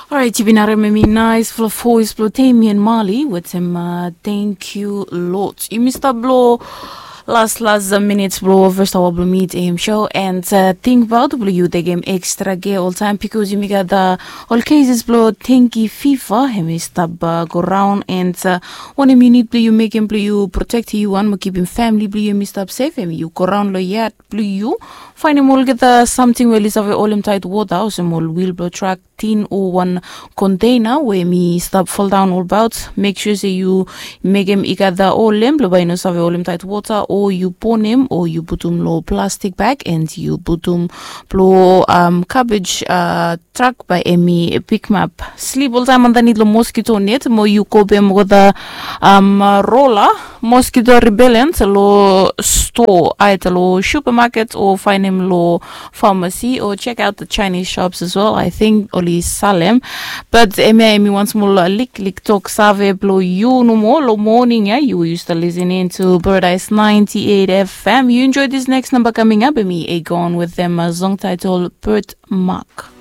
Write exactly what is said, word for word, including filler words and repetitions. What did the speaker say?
Orait, yu bin harim em i nais ful of voice blo Temi and Mali wetem uh, Thank You Lord. Yumi stap blo las las minutes blo first hour blo Meet A M show and uh, think about blo yu tekem extra care all time because yumi gat uh, all cases blo dengue fever em i stap uh, go round and uh, wanem yu need blo yu mekem blo yu protect yu wan mo kipim family blo yu em i stap safe em yu go round lo yard blo yu finding olgeta something we oli save olem tight water olsem ol wheel blo truck tin o wan container we mi stap fall down all about make sure se yu mekem i gat da olem blo bai no save olem tight water o yu ponem o yu putum lo plastic bag and yu putum blo um, cabbage uh, truck bai emi pick map sleep all time underneath lo mosquito net mo yu kopem go da um, roller mosquito repellent lo store aita lo supermarket o findem lo pharmacy or check out the Chinese shops as well. I think oli salem. But emi emi once more lik lik talk save blo you no more lo morning yeah you used to listening to Paradise ninety-eight F M. You enjoy this next number coming up. Emi a gone with them a song title Birthmark.